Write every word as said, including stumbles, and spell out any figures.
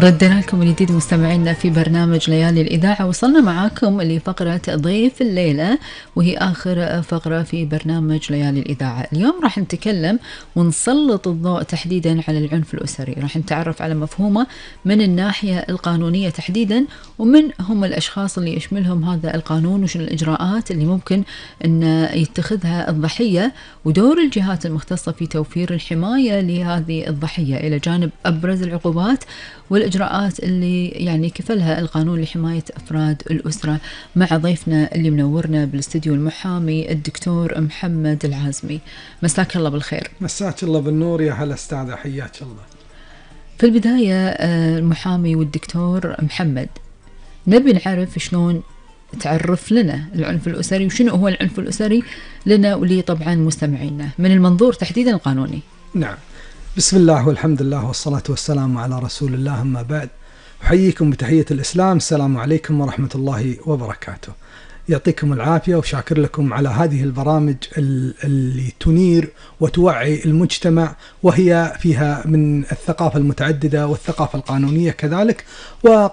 ردنا لكم من جديد مستمعينا في برنامج ليالي الإذاعة. وصلنا معاكم لفقرة ضيف الليلة، وهي آخر فقرة في برنامج ليالي الإذاعة. اليوم راح نتكلم ونسلط الضوء تحديدا على العنف الأسري. راح نتعرف على مفهومه من الناحية القانونية تحديدا، ومن هم الأشخاص اللي يشملهم هذا القانون، وشن الإجراءات اللي ممكن أن يتخذها الضحية، ودور الجهات المختصة في توفير الحماية لهذه الضحية، إلى جانب أبرز العقوبات والإجراءات اللي يعني كفلها القانون لحماية أفراد الأسرة. مع ضيفنا اللي منورنا بالاستديو المحامي الدكتور محمد العازمي. مساك الله بالخير. مساك الله بالنور يا هلا استاذة، حياك الله. في البداية المحامي والدكتور محمد، نبي نعرف شلون تعرف لنا العنف الأسري، وشنو هو العنف الأسري لنا ولي طبعا مستمعينا من المنظور تحديدا القانوني. نعم، بسم الله والحمد لله والصلاة والسلام على رسول الله، أما بعد، أحييكم بتحية الإسلام. السلام عليكم ورحمة الله وبركاته. يعطيكم العافية وشاكر لكم على هذه البرامج اللي تنير وتوعي المجتمع، وهي فيها من الثقافة المتعددة والثقافة القانونية كذلك. و